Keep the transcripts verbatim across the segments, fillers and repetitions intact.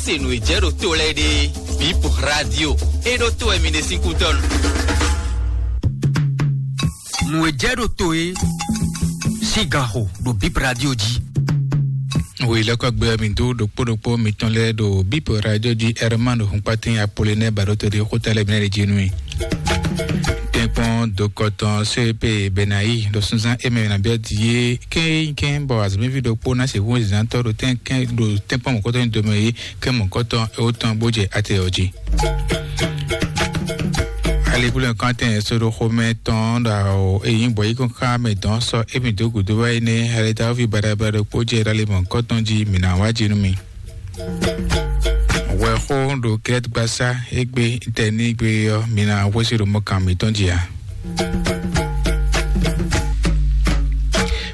Se nǔ e jɛ ɖo to lɛ́ɛ ɖe, Bip Radio e ɖo to wɛ mi ɖe sín kútɔ́ nu. Nǔ e jɛ ɖo to e sín ganxo ɖo Bip Radio jí. Wělɛ́kɔ́gbɛ ɔ́, mi dó ɖokpó ɖokpó mitɔn lɛ́ɛ ɖo Bip Radio jí. Herman Hunpatin Apollinaire Baɖótɔ́ ɖe xóta lɛ́ɛ mi ná ɖe jí nú mi. Tɛ́nkpɔ́n dokɔtɔn C P Benayi ɖo sunzán émɛ ná biɔ di yé kɛ́nkɛ́n bɔ azɔ̌mɛví ɖokpó ná se hú zǎntɔ́ ɖo tɛ́nkɛ́n ɖo tɛ́nkpɔ́n mɔ̌kɔtɔn nyi domɛ yé kɛ́ mɔ̌kɔtɔn éwó tɔn bó jɛ atɛ ɔ́ jí. Alikulɛ kɔntɛn soɖoxomɛ tɔn ɖo awo eyin bɔ yi kɔn xá mɛ dɔn sɔ emi dó gudo wá yi nɛ hɛlɛdawovi baɖabaɖa ɖokpó jɛ ɖ'ali mɔ̌kɔtɔn jí mi ná wá jí nú mi. Wɛxó ɖo Grɛt gbasá égbé tɛnígbe ɔ́, mi ná hwesí ɖo mɔkan mitɔn jí a?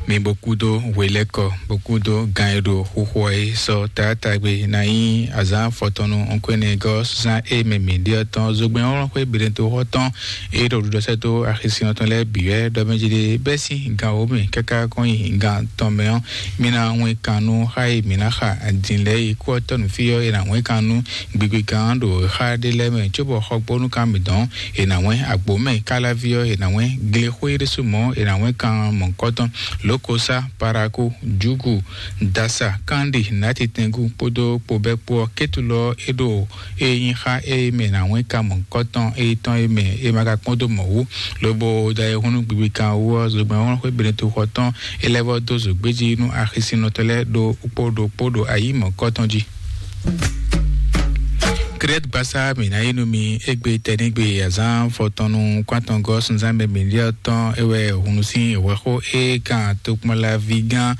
Mi bó kúdó hwelɛ́kɔ, bó kúdó gan e ɖo xuxu ɔ́ é sɔ́ taátagbe ná nyí azǎn afɔtɔn nú ɔ́nkɔ́nɛgɔ́ zán e mɛ mǐ ɖe ɔ́ tɔn zogbɛ́n ɔ́ xwé Beɖɛtoxɔ tɔn e ɖo ɖuɖɔsɛ́ dó axisinɔ tɔn lɛ́ɛ bǐ wɛ ɖɔ mɛ jí ɖe bɛ́ sín gan wǒ mɛ káká kɔn nyi gan tɔn mɛ ɔ́, mi ná wɛn kan nú xá e mǐ ná xa din lɛ́ɛ yi kú ɔ́ tɔ́ nǔ fí ɔ́, è nǎ wɛn kan nú gbigbe gán ɖo xá ɖé lɛ́ɛ mɛ, cóbɔ xɔgbónú kan mǐ dɔn è nǎ wɛn agbǒ mɛ káláví ɔ́, è nǎ wɛn glexwé ɖésú mɔ̌, è nǎ wɛn kan mɔ̌kɔtɔn, lǒkosá, paraku, júgu, dasa, kánɖi, nǎtitɛngu kpódó kpobɛ́ kpó ɔ́, kétulɔ é ɖo e nyí xá e mɛ è nǎ wɛn kan mɔ̌kɔtɔn e tɔn e mɛ è ma ka kpɔ́n dó mɔ̌ wú, lobo da e hun nú gbigbi kan wú ɔ́, zogbɛ́n xwé Beɖɛtoxɔ tɔn é lɛ́ vɔ́ dó zǒgbéjí nú axisinɔtɔ́ lɛ́ɛ ɖo kpó ɖo kpó ɖo ayǐ mɔ̌kɔtɔn jí. Krɛt gbasá mǐ ná yi nú mi égbé tɛnígbe azán fɔtɔnnu kwátɔngɔ́ sunzán mɛ mǐ ɖiɔ tɔn é wɛ hunu sín hwɛxó é kan tokpɔnlaví gán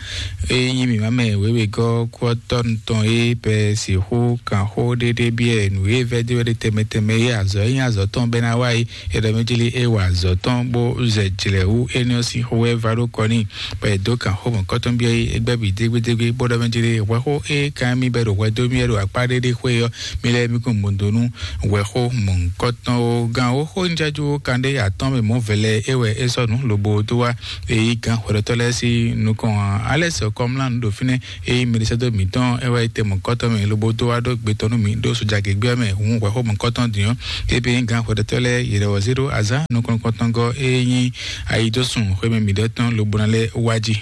é nyí mǐmá mɛ wěwegɔ́ kú ɔ́ tɔ́ tɔn é pɛ sixú kan xó ɖéɖé biɛ nǔ e vɛ́ dó wɛ ɖe tɛmɛ tɛmɛ é azɔ̌ é nyí azɔ̌ tɔn bɛ́ ná wá é é ɖɔ mɛ jí lé é wa azɔ̌ tɔn bó zɛ jlɛ̌ wú énɛ́ ɔ́ sín xó wɛ va ɖó kɔ n'i. Bɔ è dó kan xó mɔ̌kɔtɔn byɔ́ é, é gbɛ́ bǐ dégbédégbé, bó ɖɔ mɛ jí lé hwɛxó é kan mì bɛ́ ɖo hwɛ dó mì wɛ ɖo akpá ɖé ɖé xwé ɔ́, mi lɛ́ mi kún mɔ do nú hwɛxó mɔ̌kɔtɔn ó. Gán ó xó njájú kan ɖé atɔ́n mɛ mɔ̌ vɛlɛ é wɛ é sɔ́ nǔ lobo dó wá é yí gán hwɛɖɔtɔ́ lɛ́ɛ sín nukɔn ǎ. Alɛ́ sɛ kɔmlá nǔ ɖo fínɛ́ é yí mɛɖisɛ́dó mǐtɔn é wá yi te mɔ̌kɔtɔn mɛ lobo dó wá ɖó gbe tɔn nú mǐ ɖó sojagěgbé ɔ́ mɛ hǔn hwɛxó mɔ̌kɔtɔn din ɔ́. Ébé gán hwɛɖɔtɔ́ lɛ́ɛ yě lɛ́ wɔ zé ɖó azǎn nukɔn nukɔntɔngɔ́ é nyí ayidósun xwé mɛ mǐɖɔtɔn lobo ná lɛ́ wá jí.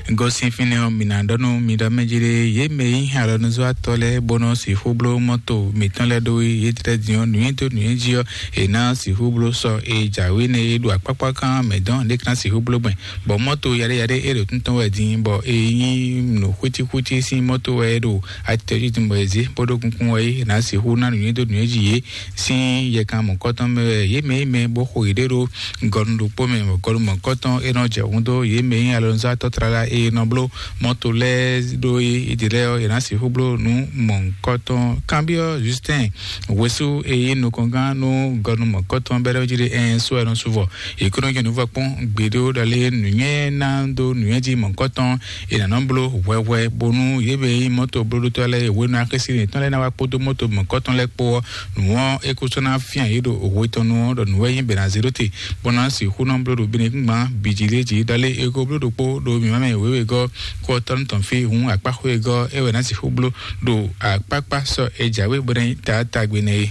Gɔ́ sín fínɛ́ ɔ́, mǐ ná ɖɔ nú mi ɖɔ mɛ jí ɖé, yě mɛ e nyí alɔnuzɔ́watɔ́ lɛ́ɛ bó nɔ́ sixú bló mɔ́to mǐtɔn lɛ́ɛ ɖó yědɛ́ din ɔ́, nǔnywɛ́ dó nǔnywɛ́ jí ɔ́, è nǎ sixú bló sɔ e jǎwe nɛ́ e ɖo akpákpá kan mɛ dɔn ɖě ká ná sixú bló gbɛn, bɔ mɔ́to yaɖéyaɖé e ɖo tún tɔn wɛ din, bɔ e nyí nǔ xwítíxwítí sín mɔ́to wɛ e ɖo atitɔjídun bɔ è zě bó ɖó kunkun wɛ é, è nǎ sixú ná nǔnywɛ́ dó nǔnywɛ́ jí yě sín yɛkan mɔ̌kɔtɔn mɛ wɛ yě mɛ e mɛ bó xo yěɖée ɖó gɔnu ɖokpó mɛ, bɔ gɔnu mɔ̌kɔtɔn e nɔ jɛ hun dó yě mɛ e nyí alɔnuzɔ́watɔ́ tlala e nɔ bló mɔ́to lɛ́ɛ ɖó é, é ɖě lɛ́ɛ ɔ́, è nǎ sixú bló nǔ mɔ̌kɔtɔn. Kanbyɔ́ Justin Wesú e nyí nukɔngán nú gɔnu mɔ̌kɔtɔn bɛ́ ɖɔ jí ɖe ɛn só ɛnɔ suvɔ. Yě kó nɔ jɛ nǔ vɔ kpɔ́n gbeɖé ɖɔ lé nǔnywɛ́ ná dó nǔnywɛ́ jí mɔ̌kɔtɔn è nǎ nɔ bló hwɛhwɛ bónú yě mɛ e nyí mɔ́to blóɖótɔ́ lɛ́ɛ e hwenu axésinɔ yětɔn lɛ́ɛ ná wá kpódó mɔ́to mɔ̌kɔtɔn lɛ́ɛ kpó ɔ́, nǔ ɔ́ é ko sɔ́ ná fyán yě ɖo hwe tɔn nu ɔ́ ɖɔ nǔ wɛ nyí bɛ̌ ná zé ɖó te, bó ná sixú nɔ bló ɖo binukúngban bǐ jí lé jí ɖɔ lé é ko bló ɖokpó ɖo mǐmá mɛ wěwegɔ́ kó ɔ́ tɔ́ nú tɔn fí hǔn akpáxwé e gɔ́ é wɛ ná sixú bló ɖo akpákpá sɔ e jǎwe bó ná nyí taátagbe nɛ́ é.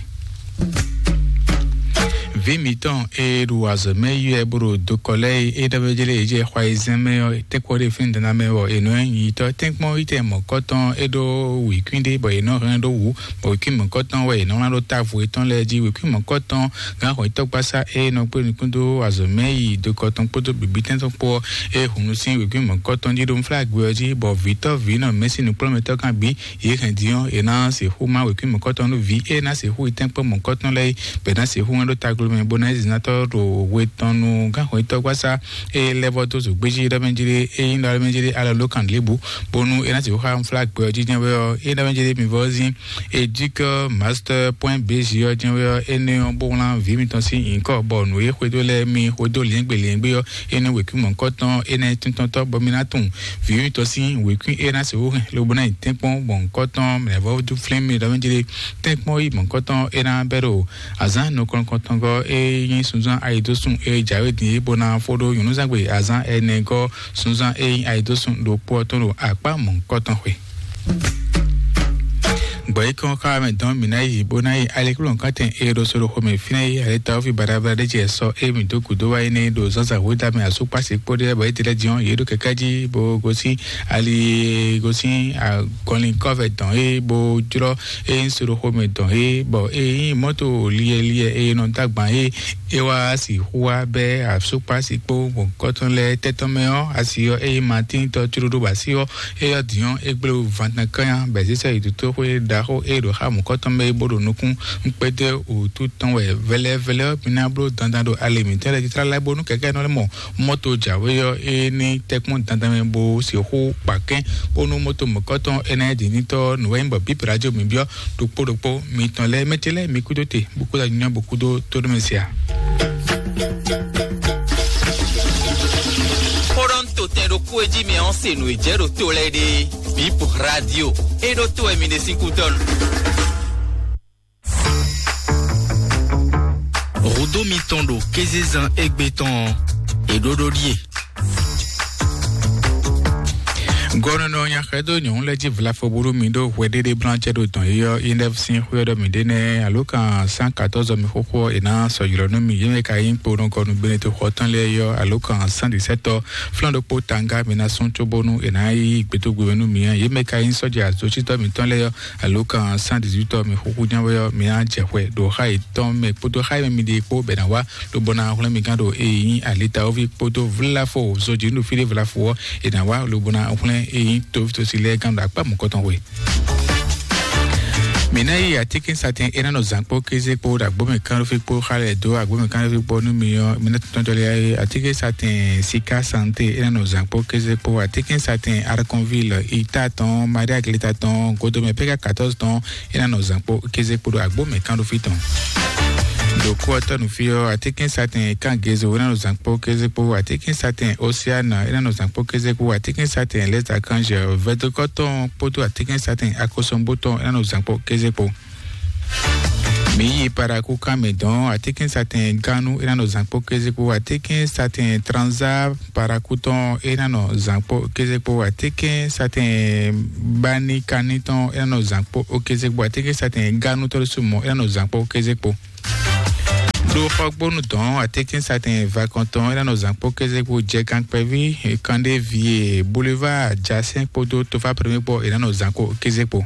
Vǐ mǐtɔn e ɖo azɔ̌ mɛ yi wɛ bó ɖo dokɔ lɛ́ɛ e é ɖɔ mɛ jlé e jɛ xɔ ayizɛ́n mɛ ɔ́, tɛ́nkpɔ́n ɖé fínɛ́ dana mɛ wɔ è nɔ nyi yitɔ́ tɛ́nkpɔ́n yi tɛ mɔ̌kɔtɔn é ɖó wěkwín ɖé bɔ è nɔ hɛn ɖó wǔ, bɔ wěkwín mɔ̌kɔtɔn wɛ è nɔ wlán ɖó távo yětɔn lɛ́ɛ jí. Wěkwín mɔ̌kɔtɔn gán xɔ yítɔ́gbasá e nɔ kplé nukún dó azɔ̌ mɛ yi dokɔ tɔn kpódó bǐbítɛ́n tɔn kpó ɔ́, é hun nú sín wěkwín mɔ̌kɔtɔn jí ɖó nflágbé ɔ́ jí, bɔ vǐtɔ́ vǐnɔ mɛ sín nukplɔ́nmɛtɔ́ gán bǐ yě hɛn din ɔ́, è ná sixú má wěkwín mɔ̌kɔtɔn nú vǐ e ná sixú yi tɛ́nkpɔ́n mɔ̌kɔtɔn lɛ́ɛ é, bɔ è nǎ sixú wɛn ɖó taglomɛ bó ná yí zinatɔ́ ɖo hwe tɔn nú gánxɔyítɔ́gbasá e lɛ́ vɔ́ dó zǒgbéjí ɖɔ mɛ jí ɖé, e nyí ɖɔ mɛ jí ɖé alɔ ló kan lěbǔ, bónú é ná sixú xá nflágbé ɔ́ jínjɔ́n wɛ ɔ́, é ɖɔ mɛ jí ɖé mi vɔ́ zín edikɔ master point bg ɔ́ jɛ́n wɛ ɔ́, énɛ́ ɔ́ bó wlán vǐ mitɔn sín nyǐkɔ, bɔ nǔ e xwedó lɛ́ɛ mi xwedó liɛ́ngbé liɛ́ngbé ɔ́, énɛ́ wěkwín mɔ̌hunkɔtɔn énɛ́ tíntɔ́ntɔ́ bɔ mi ná tunwun vǐ mitɔn sín wěkwín e ná sixú hɛn lobo ná nyi tɛ́nkpɔ́n mɔ̌hunkɔtɔn mɛ̌vɔ́ flín mi ɖɔ mɛ jí ɖé tɛ́nkpɔ́n yi mɔ̌hunkɔtɔn é ná bɛ́ ɖo azǎn nukɔn nukɔntɔngɔ́ e nyí sunzán ayidósun e jǎwe din é bó ná fó ɖó nyɔ̌núzangbe azǎn ɛnɛgɔ́ sunzán e nyí ayidósun ɖokpó ɔ́ tɔn ɖo akpá mɔ̌hunkɔtɔn xwe. Bɔ é kɔn xá mɛ dɔn mǐ ná yi bó ná yi alekplɔ́nkɔ́tɛn e ɖo soloxo mɛ fínɛ́ yi ale ta ɔ́ fi baɖabaɖa ɖé jɛ sɔ e mǐ dó gǔdo wá yi nɛ́ ɖo zǎnzǎn hwedá mɛ asúkpási kpóɖé bɔ é ɖi lɛ́ din ɔ́, yě ɖo kɛkɛ́ jí bó gosín ali gosín agɔnlin kɔ́vɛ dɔn é bó jlɔ́ é nyí soloxo mɛ dɔn é bɔ é nyí mɔ́to liɛliɛ e nɔ dó agban é é wá sixú wá bɛ́ asúkpási kpó mɔ̌kɔ́tɔn lɛ́ɛ tɛ́tɔ́ mɛ ɔ́, asi ɔ́ é nyí Matín tɔ́ cóɖó bɔ asi ɔ́ é yɔ dǐn ɔ́, é gblé wú vantankánya bɔ è zě sɔ́ yi dotóxwé ɖaxó e ɖo xá mɔ̌kɔtɔn mɛ é bó ɖo nukún. Un kpédó wǔtu tɔn wɛ vɛlɛvɛlɛ ɔ́, mi ná bló dandan ɖo ali mǐtɔn lɛ́ɛ jí tlala bónú kɛkɛ́nɔ lɛ́ɛ mɔ mɔ́to jǎwe ɔ́, é ní tɛ́kpɔ́n dandan mɛ bó sixú kpa kɛ́n bónú mɔ́to mɔ̌kɔtɔn é ná yi dǐnítɔ́ nǔwɛ́nyí bɔ bǐ radio mi byɔ́ ɖokpó ɖokpó mitɔn lɛ́ɛ mɛ ce lɛ́ɛ mi kúdó te bó kúdó nyɔ́ bó kúdó tóɖó mɛ se a. Xó ɖɔ un to tɛn ɖokpó e jí mɛ ɔ́ se nǔ e jɛ ɖo to lɛ́ɛ ɖe. Bip Radio. E ɖo to wɛ mi ɖe sín kútɔ́ nu. Hǔdó mitɔn ɖo kézezan égbé tɔn ɔ́, è ɖó ɖó ɖíe. Gɔnɔnɔ nyaxɛdó nyɔ̌nu lɛ́ɛ jí vlafo búrú mi ɖó hwɛɖéɖé blanjɛ ɖo dɔn yíyɔ inɛf sín xwé ɔ́ ɖɔ mi ɖé nɛ́ alo kan cent quatorze mi xóxó ɔ́, è nǎ sɔ́ ylɔ́ nú mi. Yě mɛ ka nyí kponɔgɔnu Beneto xɔ tɔn lɛ́ɛ yɔ alo kan cent dix-sept ɔ́, flán ɖokpó tanga mi ná sún cóbónú è nǎ yí gbětógbé mɛ nú mi ɔ́. Yě mɛ ka nyí sɔ́ja zocítɔ́ mitɔn lɛ́ɛ ɔ́, alo kan cent dix-huit ɔ́, mi xúxú ján wɛ ɔ́, mi ná jɛ xwɛ ɖo xá yětɔn mɛ kpódó xá e mɛ mi ɖe kpó bɔ è nǎ wá lobo ná hwlɛ́n mi gán ɖo e nyí alitawovi kpódó vlafo zojǐnu fí ɖé vlafo ɔ́, è nǎ wá lobo ná hwlɛ́n e nyí tovítɔ́sí lɛ́ɛ gán ɖo akpá mɔ̌kɔtɔn hwe. Mǐ ná yi atínkínsatɛn é ná nɔ zǎn kpó kéze kpó ɖo agbǒmɛ kánɖófí kpó xá lɛ́ɛ dó agbǒmɛ kánɖófí kpó nú mi ɔ́, mi ná tɔ́n jɔlé atínkínsatɛn Sika Santé é ná nɔ zǎn kpó kéze kpó atínkínsatɛn Arkonvil ita tɔn Maria Glita tɔn Godomɛ Peka quatorze tɔn é ná nɔ zǎn kpó kéze kpó ɖo agbǒmɛ kánɖófí tɔn. Ɖo kú ɔ́ tɔ́ nǔ fí ɔ́, atínkínsatɛn Kángezo é ná nɔ zǎn kpó kéze kpó atínkínsatɛn Osiana é ná nɔ zǎn kpó kéze kpó atínkínsatɛn Lɛ́zakanzɛ vɛdokɔ́ tɔn kpódó atínkínsatɛn Akosɔngbó tɔn é ná nɔ zǎn kpó kéze kpó. Mǐ yi Parakú kán mɛ dɔn atínkínsatɛn Gánú é ná nɔ zǎn kpó kéze kpó atínkínsatɛn Tranzá Parakú tɔn é ná nɔ zǎn kpó kéze kpó atínkínsatɛn Banikani tɔn é ná nɔ zǎn kpó kéze kpó atínkínsatɛn Gánú tɔ́ ɖésú mɔ̌ é ná nɔ zǎn kpó kéze kpó. Ɖo xɔgbónu dɔn atínkínsatɛn Vakɔntɔn é ná nɔ zǎn kpó kéze kpó jɛ kankpɛví Kandévie Boulevard Jasɛn kpódó Tofa Premier kpó é ná nɔ zǎn kpó kéze kpó.